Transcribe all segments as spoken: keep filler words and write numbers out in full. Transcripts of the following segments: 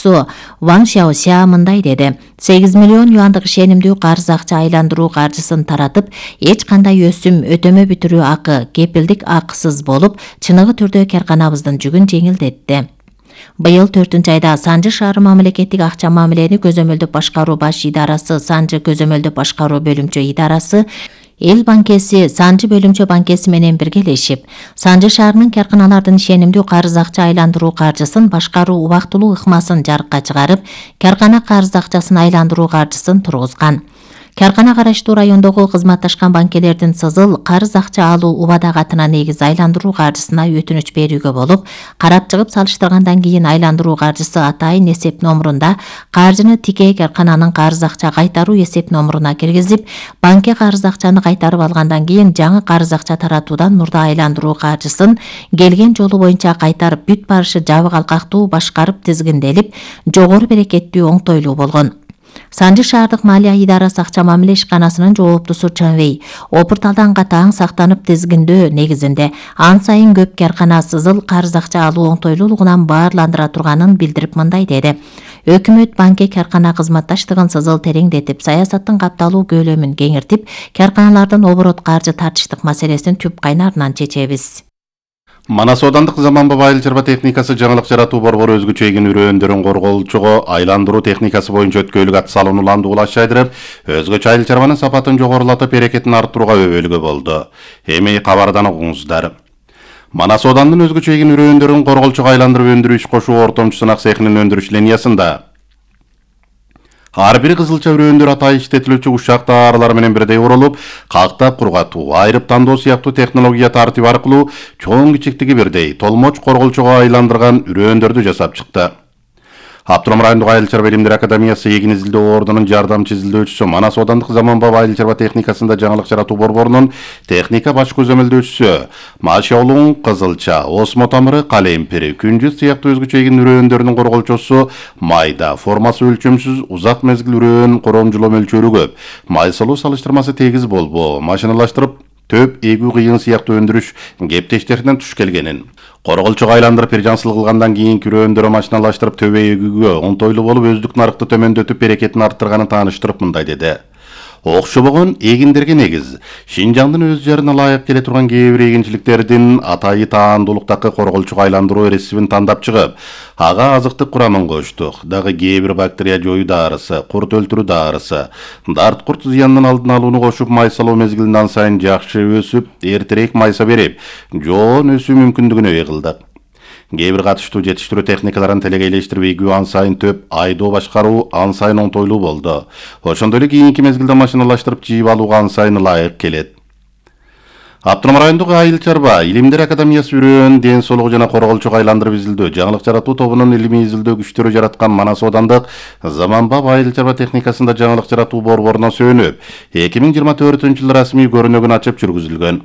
окуучусу Ван Шаося мындай деди. сегиз миллион юандык ишенимдүү карыз акча айландыруу каржысын таратып, эч кандай өсүм, өтөмө бүтүрүү акы, кепилдик акысыз болуп, чыныгы түрдө карканабыздын жүгүн жеңилдетти. Быйыл төртүнчү айда Санжы шаары мамлекеттик акча мамилени көзөмөлдөп башкаруу баш идарасы, Санжы көзөмөлдөп башкаруу бөлүмчө идарасы, Эл банкеси Санжы бөлүмчө банкеси менен биргелешип, Санжы шаарынын карканалардын ишенимдүү карыз акча айландыруу каржысын башкаруу убактылуу ыкмасын жарыкка чыгарып, каркана карыз акчасын айландыруу каржысын тургузган. Каркана караштуу райондогу кызматташкан банкелердин сызыл карыз акча алуу убада катына негиз айландыруу каржысына өтүнүч берүүгө болуп, карап чыгып салыштыргандан кийин айландыруу каржысы атайын эсеп номурунда каржыны тикей каркананын карыз акча кайтаруу эсеп номуруна киргизип, банкке карыз акчаны кайтарып алгандан кийин жаңы карыз акча таратуудан мурда айландыруу каржысын келген жолу боюнча кайтарып бүт барышы жабык алкактуу башкарып тизгинделип, жогору берекеттүү оңтойлуу болгон. Санжы шаардык малия идарасы акча мамиле ишканасынын жооптусу Чанвей опурталдан катаң сактанып тизгиндөө негизинде ан сайын көп каркана сызыл карыз акча алуу оңтойлуулугунан баарландыра турганын билдирип мындай деди. Өкмөт банкке каркана кызматташтыгын сызыл тереңдетип, саясаттын капталуу көлөмүн кеңиртип, карканалардын оборот каржы тартыштык маселесин түп кайнарынан чечебиз. Манас аудандык заманбап айыл чарба техникасы жаңылык жаратуу борбору өзгөчө эгин үрөөндөрүн корголчуго айландыруу техникасы боюнча өткөйлүк ат салууну улаш жайдырып, өзгөчө айыл чарбанын сапатын жогорулатып, берекетин арттырууга өбөлгө болду. Эми кабардан угуңуздар. Манас аудандын өзгөчө эгин үрөөндөрүн корголчуга айландырып өндүрүү иш кошуу ортомчу сынак цехинин өндүрүш линиясында ар бир кызылча үрөөндөр атайын иштетилүүчү ушак тааралар менен бирдей урулуп, кактап кургатуу, айрып тандоо сыяктуу технология тартиби аркылуу чоң кичиктиги бирдей толмоч корголчуга айландырган үрөөндөрдү жасап чыкты. Абдурахман райондук айыл чарба илимдер академиясы эгин изилдөө ордунун жардамчы изилдөөчүсү, Манас аудандык заманбап айыл чарба техникасында жаңылык жаратуу борборунун техника баш көзөмөлдөөчүсү Машаулуң кызылча, осмо тамыры, калемпири, күнжүт сыяктуу өзгөчө эгин үрөөндөрүнүн корголчусу майда, формасы өлчөмсүз, узак мезгил үрөөн коромжулоо мөлчөрү көп, май салуу салыштырмасы тегиз болбоо, машиналаштырып төп эгүү кыйын сыяктуу өндүрүш кептештеринен туш келгенин, корголчуга айландырып биржансыл кылгандан кийин үрөөндөрү машиналаштырып төбө эгүүгө оңтойлуу болуп, өздүк нарыкты төмөндөтүп, берекетин арттырганын тааныштырып мындай деди. Окшобогон эгиндерге негиз, Шинжаңдын өз жарына ылайык келе турган кээ бир эгинчиликтердин атайы таандуулуктагы корголчуга айландыруу рецептин тандап чыгып, ага азыктык курамын коштук. Дагы кээ бир бактерия жоюу даарысы, курт өлтүрүү даарысы, дарт курт зыянынын алдын алууну кошуп, май салуу мезгилинде ан сайын жакшы өсүп, эртерээк майса берип, жоон өсүү мүмкүндүгүнө ээ кылдык. Кээ бир катыштуу жетиштирүү техникаларын телегейлештирип, эгүү ан сайын төп айдоо башкаруу ан сайын оңтойлуу болду. Ошондой эле кийинки мезгилде машиналаштырып жыйып алууга ан сайын ылайык келет. Абдурахман райондук айыл чарба илимдер академиясы үрөөн, ден соолугу жана корголчуга айландырып изилдөө, жаңылык жаратуу тобунун илимий изилдөө күчтөрү жараткан Манас аудандык заманбап айыл чарба техникасында жаңылык жаратуу борборуна сүйөнүп, эки миң жыйырма төртүнчү жылы расмий көрүнөгүн ачып жүргүзүлгөн.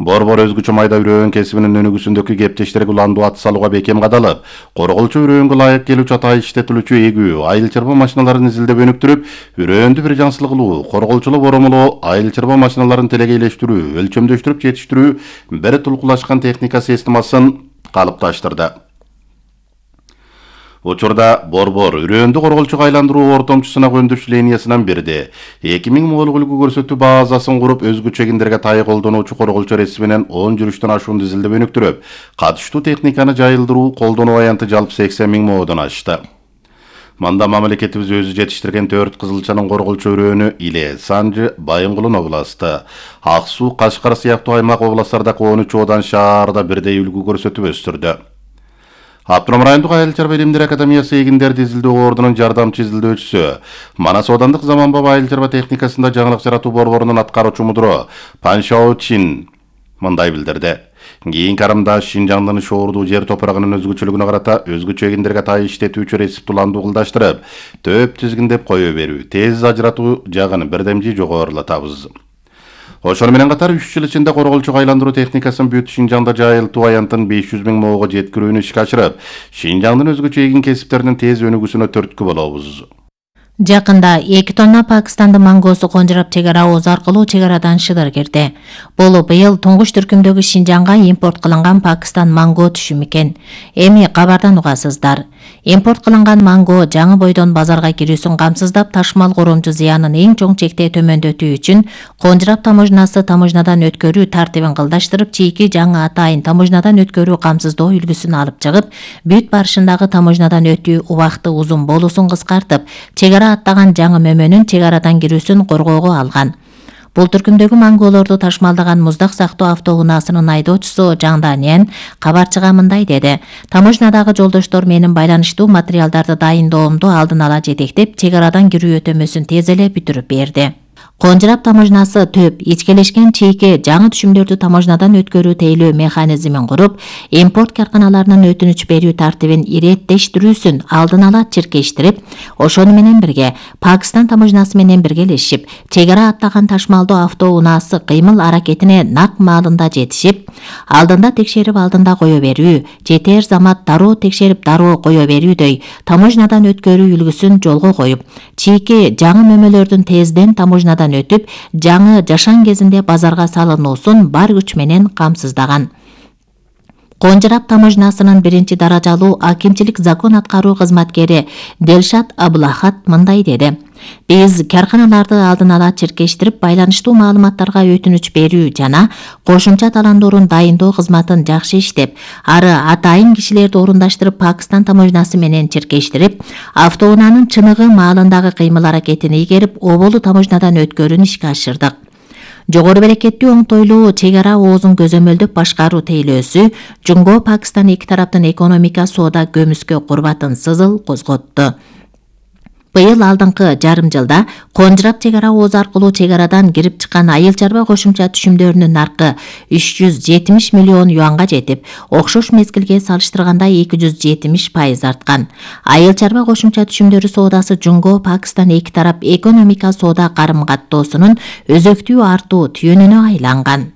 Борбор өзгөчө майда үрөөн кесибинин өнүгүүсүндөгү кептештерге уландуу ат салууга бекем кадалып, корголчу үрөөнгө ылайык келүүчү атайын иштетилүүчү эгүү айыл чарба машиналарын изилдеп өнүктүрүп, үрөөндү биржансыл кылуу, корголчулуу боромолоо, айыл чарба машиналарын телегейлештирүү, өлчөмдөштүрүп жетиштирүү бир тулкулашкан техника системасын калыпташтырды. Учурда борбор үрөөндү корголчуга айландыруу ортомчу сынак өндүрүш линиясынан бирди. эки миң молук үлгү көрсөтүү базасын куруп, өзгөчө эгиндерге тайы колдонуучу корголчу рецептинен он жүрүштөн ашуунду изилдеп өнүктүрүп, катыштуу техниканы жайылдыруу, колдонуу аянты жалпы сексен миң моодон ашты. Мында мамлекетибиз өзү жетиштирген төрт кызылчанын корголчу үрөөнү Иле, Санжы, Байынгулун областы, Ак Суу, Кашкар сыяктуу аймак областтардагы он үч одан шаарда бирдей үлгү көрсөтүп өстүрдү. Абдурахман райондук айыл чарба илимдер академиясы эгиндерди изилдөө ордунун жардамчы изилдөөчүсү, Манас аудандык заманбап айыл чарба техникасында жаңылык жаратуу борборунун аткаруучу мудуру Пан Шао Чин мындай билдирди. Кийинки карамда Шинжаңдын шоордуу жер топурагынын өзгөчөлүгүнө карата өзгөчө эгиндерге тайы иштетүүчү рецепт уланды кылдаштырып, төп тизгиндеп кое берүү, тез ажыратуу жагын бирдемжи жогорулатабыз. Ошону менен катар үч жыл ичинде корголчуга айландыруу техникасын бүт Шинжаңда жайылтуу аянтын беш жүз миң моого жеткирүүнү ишке ашырып, Шинжаңдын өзгөчө эгин кесиптеринин тез өнүгүүсүнө түрткү болобуз. Жакында эки тонна Пакистандын мангоосу конжурап чек ара ооз аркылуу чек арадан шыдыр кирди. Бул быйыл туңгуч түркүмдөгү Шинжанга импорт кылынган Пакистан манго түшүмү экен. Эми кабардан угасыздар. Импорт кылынган манго жаңы бойдон базарга кирүүсүн камсыздап, ташмал коромчу зыянын эң чоң чекте төмөндөтүү үчүн конжурап таможнасы таможнадан өткөрүү тартибин кылдаштырып, чийки жаңы атайын таможнадан өткөрүү камсыздоо үлгүсүн алып чыгып, бүт барышындагы таможнадан өтүү убакыты узун болуусун кыскартып, чек ара аттаган жаңы мөмөнүн чек арадан кирүүсүн коргоого алган. Бул түркүмдөгү манголорду ташмалдаган муздак сактоо автоунаасынын айдоочусу Жаңданян кабарчыга мындай деди: "Таможнадагы жолдоштор менин байланыштуу материалдарды дайындоомду алдын ала жетектеп, чек арадан кирүү өтөмөсүн тез эле бүтүрүп берди." Конжурап таможнасы төп ичкелешкен чейки жаңы түшүмдөрдү таможнадан өткөрүү тейлөө механизмин куруп, импорт карканаларынын өтүнүч берүү тартибин иреттештирүүсүн алдын ала чиркештирип, ошону менен бирге Пакистан таможнасы менен биргелешип, чек ара аттаган ташмалдоо автоунаасы кыймыл аракетине нак маалында жетишип, алдында текшерип алдында кое берүү, жетер замат дароо текшерип дароо кое берүүдөй таможнадан өткөрүү үлгүсүн жолго коюп, чийки жаңы мөмөлөрдүн тезден таможнадан өтүп, жаңы жашан кезинде базарга салынуусун бар күч менен камсыздаган. Конжурап таможнасынын биринчи даражалуу акимчилик закон аткаруу кызматкери Делшат Аблахат мындай деди: "Биз карканаларды алдын ала чиркештирип, байланыштуу маалыматтарга өтүнүч берүү жана кошумча таландоорун дайындоо кызматын жакшы иштеп, ары атайын кишилерди орундаштырып, Пакистан таможнасы менен чиркештирип, автоунаанын чыныгы маалындагы кыймыл аракетин ийгерип, оболу таможнадан өткөрүүнү ишке ашырдык. Жогору берекеттүү оңтойлуу чек ара оозун көзөмөлдөп башкаруу тейлөөсү Жунго Пакистан эки тараптын экономика соода көмүскө курбатын сызыл козготту." Быйыл алдыңкы жарым жылда конжурап чек ара ооз аркылуу чек арадан кирип чыккан айыл чарба кошумча түшүмдөрүнүн наркы үч жүз жетимиш миллион юанга жетип, окшош мезгилге салыштырганда эки жүз жетимиш пайыз арткан. Айыл чарба кошумча түшүмдөрү соодасы Жунго Пакистан эки тарап экономика соода карым каттоосунун өзөктүү артуу түйүнүнө айланган.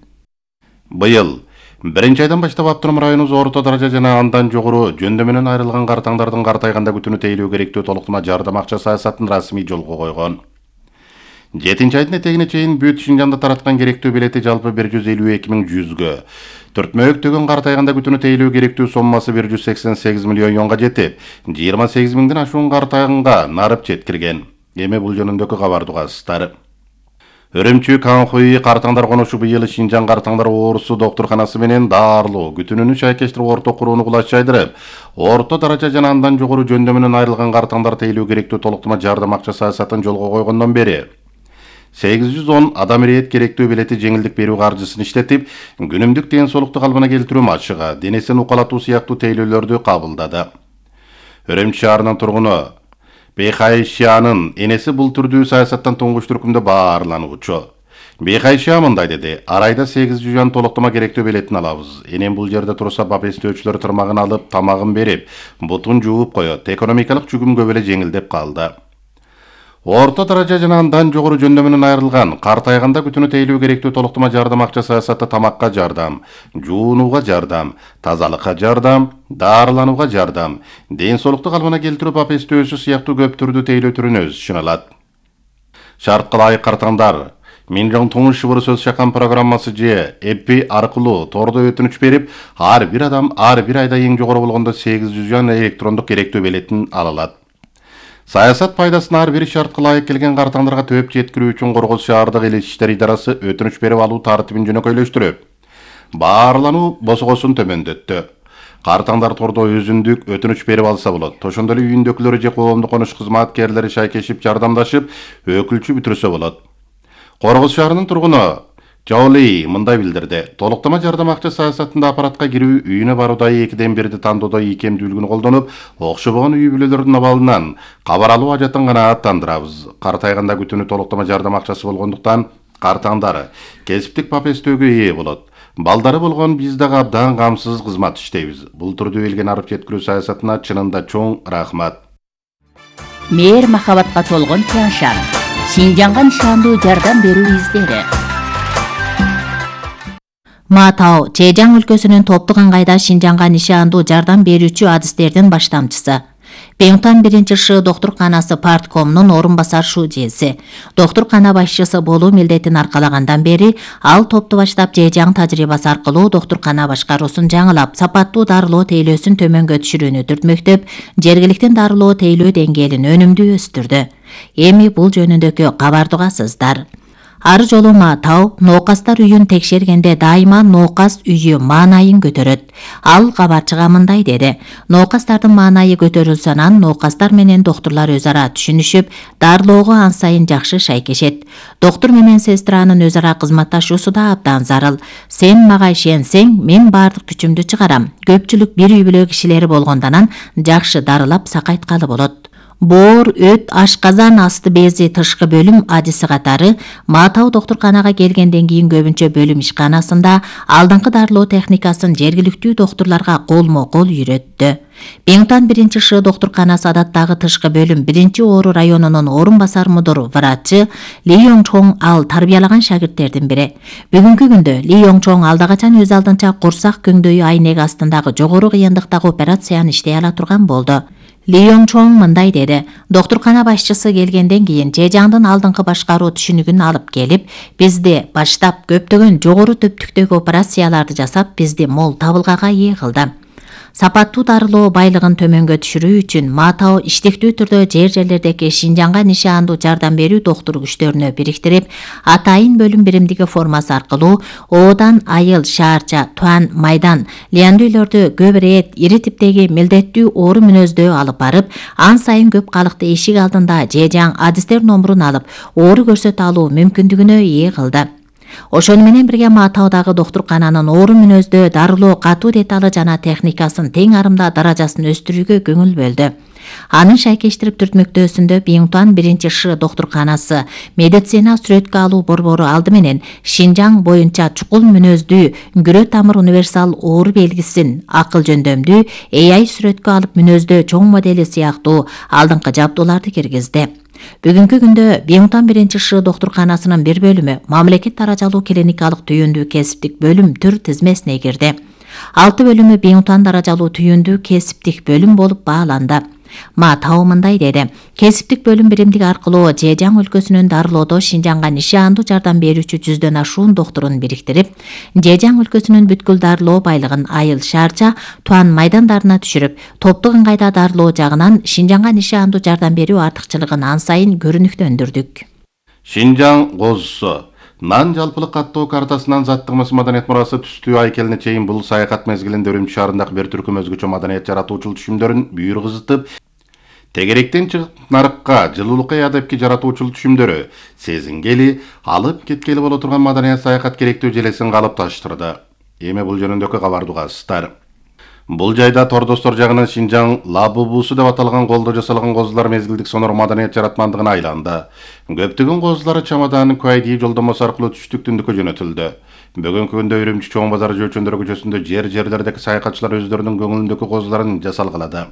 Быйыл биринчи айдан баштап Автоном районубуз орто даража жана андан жогору жөндөмүнөн айрылган картаңдардын картайганда күтүүнү тейлөө керектүү толуктама жардам акча саясатын расмий жолго койгон. жетинчи айдын этегине чейин бүт Шинжанда тараткан керектүү билети жалпы бир жүз элүү эки миң жүзгө. Төртмөктөгөн картайганда күтүүнү тейлөө керектүү соммасы бир жүз сексен сегиз миллион юанга жетип, жыйырма сегиз миңден ашуун картайганга нарып жеткирген. Эми бул жөнүндөгү кабарды угасыздар. Өрөмчү Канхуй картаңдар конушу быйыл Шинжаң картаңдар оорусу доктурканасы менен даарылуу күтүүнү шайкештирип орто курууну кулачайдырып, орто даража жана андан жогору жөндөмүнөн айрылган картаңдар тейлөө керектүү толуктама жардам акча саясатын жолго койгондон бери сегиз жүз он адам ирэет керектүү билети жеңилдик берүү каржысын иштетип, күнүмдүк ден соолукту калыбына келтирүү машыгы, денесин укалатуу сыяктуу тейлөөлөрдү кабылдады. Өрөмчү шаарынын тургуну Бейхайшиянын энеси бул түрдүү саясаттан туңгуч түркүмдө баарлануучу. Бейхайшия мындай деди: "Арайда сегиз жүз юан толуктама керектүү билетин алабыз. Энем бул жерде турса бап эстөөчүлөр тырмагын алып, тамагын берип, бутун жууп коет. Экономикалык жүгүм көп эле жеңилдеп калды." Орто даража жана андан жогору жөндөмүнөн айрылган, картайганда күтүүнү тейлөө керектүү толуктама жардам акча саясаты тамакка жардам, жуунууга жардам, тазалыкка жардам, даарыланууга жардам, ден соолукту калыбына келтирүү бап эстөөсү сыяктуу көп түрдүү тейлөө түрүнө өз ишин алат. Шартка ылайык картаңдар Минжоң туңуш шыбыр сөз чакан программасы же эпи аркылуу тордо өтүнүч берип, ар бир адам ар бир айда эң жогору болгондо сегиз жүз юан электрондук керектүү билетин ала алат. Саясат пайдасын ар бир шартка ылайык келген картаңдарга төп жеткирүү үчүн Коргоз шаардык эл иштери идарасы өтүнүч берип алуу тартибин жөнөкөйлөштүрүп, баарлануу босгосун төмөндөттү. Картаңдар тордо өзүндүк өтүнүч берип алса болот. Ошондой эле үйүндөгүлөрү же коомдук конуш кызматкерлери шайкешип жардамдашып, өкүлчү бүтүрсө болот. Коргоз шаарынын тургуну Жаули мындай билдирди: "Толуктама жардам акча саясатында аппаратка кирүү, үйүнө баруудагы экиден бирди тандоодо ийкемдүүлүгүн колдонуп, окшобогон үй бүлөлөрдүн абалынан кабар алуу ажатын гана аттандырабыз. Картайганда күтүүнү толуктама жардам акчасы болгондуктан картаңдары кесиптик бап эстөөгө ээ болот. Балдары болгон биз дагы абдан камсыз кызмат иштейбиз. Бул түрдүү элге нарып жеткирүү саясатына чынында чоң рахмат." Мээр махабатка толгон Тяншан. Шинжанга нишандуу жардам берүү издери. Матау Чэжаң өлкөсүнүн топтук ыңгайда Шинжанга нишандуу жардам берүүчү адистердин баштамчысы. Беңтан биринчи ШИ доктурканасы парткомунун орун басар шужеси. Доктуркана башчысы болуу милдетин аркалагандан бери ал топту баштап жежаң тажрыйбасы аркылуу доктуркана башкаруусун жаңылап, сапаттуу дарылоо тейлөөсүн төмөнгө түшүрүүнү түртмөктөп, жергиликтин дарылоо тейлөө деңгээлин өнүмдүү өстүрдү. Эми бул жөнүндөгү кабарды угасыздар. Ар жолу Маатау ноокастар үйүн текшергенде дайыма ноокас үйү маанайын көтөрөт. Ал кабарчыга мындай деди: "Ноокастардын маанайы көтөрүлсө анан ноокастар менен доктурлар өз ара түшүнүшүп, дарылоого ан сайын жакшы шайкешет. Доктур менен сестранын өз ара кызматташуусу да абдан зарыл. Сен мага ишенсең, мен бардык күчүмдү чыгарам. Көпчүлүк бир үй бүлө кишилери болгондон жакшы дарылап сакайткалы болот." Боор, өт, ашказан асты бези тышкы бөлүм адиси катары Маатау доктурканага келгенден кийин көбүнчө бөлүм ишканасында алдыңкы дарылоо техникасын жергиликтүү доктурларга колмо-кол үйрөттү. Беңтан биринчи ШИ доктурканасы адаттагы тышкы бөлүм биринчи Ору районунун орун басар мудур врачы Ли Йоңчоң ал тарбиялаган шагирттердин бири. Бүгүнкү күндө Ли Йоңчоң алда качан өз алдынча курсак көңдөйү айнеги астындагы жогору кыйындыктагы операцияны иштей ала турган болду. Ли Йоңчоң мындай деди: "Доктуркана башчысы келгенден кийин жежаңдын алдыңкы башкаруу түшүнүгүн алып келип, бизди баштап көптөгөн жогору төптүктөгү операцияларды жасап, бизди мол табылгага ээ кылды. Сапаттуу дарылоо байлыгын төмөнгө түшүрүү үчүн Маатау иштиктүү түрдө жер жерлердеги Шинжаңга нишандуу жардам берүү доктур күчтөрүнө бириктирип, атайын бөлүм биримдиги формасы аркылуу Оодан, Айыл, Шаарча, Туан, Майдан, Лиандүйлөрдү көп ирет, ири типтеги милдеттүү оору мүнөздөө алып барып, ан сайын көп калыкты эшик алдында жежаң адистер номурун алып, оору көрсөтө алуу мүмкүндүгүнө ээ кылды. Ошону менен бирге Маатаудагы доктуркананын оору мүнөздөө дарылоо катуу деталы жана техникасын тең арымда даражасын өстүрүүгө көңүл бөлдү. Анын шайкештирип түртмөктөөсүндө Беңтан биринчи ШИ доктурканасы медицина сүрөткө алуу борбору алды менен Шинжаң боюнча чукул мүнөздүү күрө тамыр универсал оору белгисин акыл жөндөмдүү A I сүрөткө алып мүнөздөө чоң модели сыяктуу алдыңкы жабдууларды киргизди. Бүгүнкү күндө Беңтан биринчи ШИ доктурканасынын бир бөлүмү мамлекет даражалуу клиникалык түйүндүү кесиптик бөлүм түр тизмесине кирди. Алты бөлүмү Беңтан даражалуу түйүндүү кесиптик бөлүм болуп бааланды. Маатау мындай деди: "Кесиптик бөлүм биримдиги аркылуу Жежаң өлкөсүнүн дарылоодо Шинжаңга нишандуу жардам берүүчү жүздөн ашуун доктурун бириктирип, Жежаң өлкөсүнүн бүткүл дарылоо байлыгын Айыл, Шаарча, Туан, Майдандарына түшүрүп, топтук ыңгайда дарылоо жагынан Шинжаңга нишандуу жардам берүү артыкчылыгын ан сайын көрүнүктөндүрдүк." Шинжаң козусу Нан жалпылык каттоо картасынан заттыгымыз маданият мурасы түстүү айкелине чейин бул саякат мезгилинде Үрүмчү шаарындагы бир түркүм өзгөчө маданият жаратуучулук түшүмдөрүн бүйүр кызытып, тегеректен чыгып нарыкка жылуулукка адепки жаратуучулук түшүмдөрү сезингели, алып кеткели боло турган маданият саякат керектүү желесин калыпташтырды. Эми бул жөнүндөгү кабарды угасыздар. Бул жайда тордостор жагынан Шинжаң лабубусу деп аталган колдо жасалган козулар мезгилдик сонор маданият жаратмандыгына айланды. Көптөгөн козулары чамаданын Куайди жолдомосу аркылуу түштүк түндүккө жөнөтүлдү. Бүгүнкү күндө Үрүмчү чоң базары жөөчөндөр көчөсүндө жер жерлердеги саякатчылар өздөрүнүн көңүлүндөгү козуларын жасалгылады.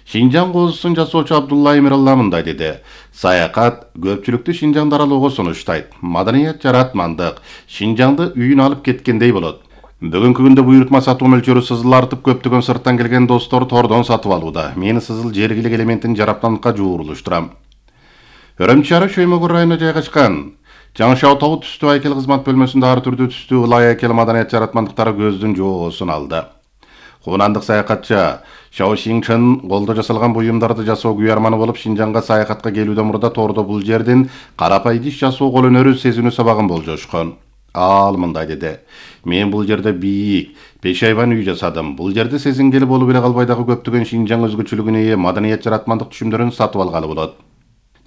Шинжаң козусун жасоочу Абдулла Эмиралла мындай деди: "Саякат көпчүлүктү Шинжаң дарылоого сунуштайт. Маданият жаратмандык Шинжаңды үйүн алып кеткендей болот. Бүгүнкү күндө буйрутма сатуу мөлчөрү сызыл артып, көптөгөн сырттан келген достор тордон сатып алууда. Мен сызыл жергилик элементин жараптандыкка жуурулуштурам." Үрүмчү шаары Шөймөгүр районуна жайгашкан Жаңышау тоо түстүү айкел кызмат бөлмөсүндө ар түрдүү түстүү ылай айкел маданият жаратмандыктары көздүн жоосун алды. Хунандык саякатчы Шао Шинчен колдо жасалган буюмдарды жасоо күйарманы болуп, Шинжаңга саякатка келүүдөн мурда тордо бул жердин карапай иш жасоо кол өнөрү сезинүү сабагын болжошкон. Ал мындай деди: "Мен бул жерде бийик, пешайбан үй жасадым. Бул жерде сезингели болуп эле калбай дагы көптөгөн Шинжаң өзгөчөлүгүнө ээ маданият жаратмандык түшүмдөрүн сатып алгалы болот."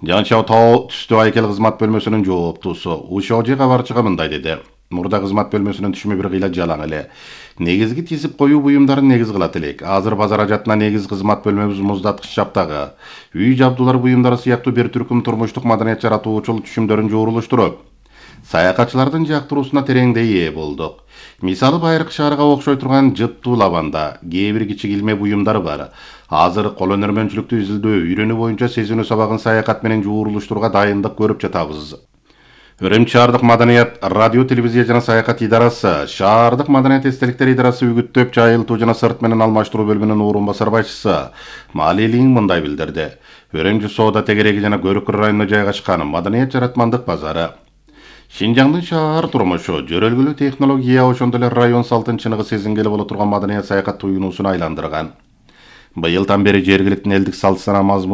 Жаңышау тоо түстүү айкел кызмат бөлмөсүнүн жооптуусу Ушожи кабарчыга мындай деди: "Мурда кызмат бөлмөсүнүн түшүмү бир кыйла жалаң эле. Негизги тизип коюу буюмдарын негиз кылат элек. Азыр базар ажатына негиз кызмат бөлмөбүз муздаткыч чаптагы. Үй жабдуулар буюмдары сыяктуу бир түркүм турмуштук маданият жаратуучулук түшүмдөрүн жоорулуштуруп, саякатчылардын жактыруусуна тереңдей ээ болдук. Мисалы, Байыркы шаарга окшой турган жыттуу лабанда кээ бир кичи килме буюмдар бар. Азыр кол өнөрмөнчүлүктү изилдөө, үйрөнүү боюнча сезинүү сабагын саякат менен жуурулуштурууга дайындык көрүп жатабыз." Үрүмчү шаардык маданият радио, телевизия жана саякат идарасы, шаардык маданият эстеликтер идарасы үгүттөп жайылтуу жана сырт менен алмаштыруу бөлүмүнүн орун басар башчысы Малилин мындай билдирди. Үрүмчү соода тегереги жана Көрүкөр районуна жайгашкан маданият жаратмандык базары Шинжаңдын шаар турмушу, жөрөлгүлүү технология, ошондой эле район салтын чыныгы сезингели боло турган маданият саякат туюнуусуна айландырган. Быйылдан бери жергиликтин элдик салт сана мазмун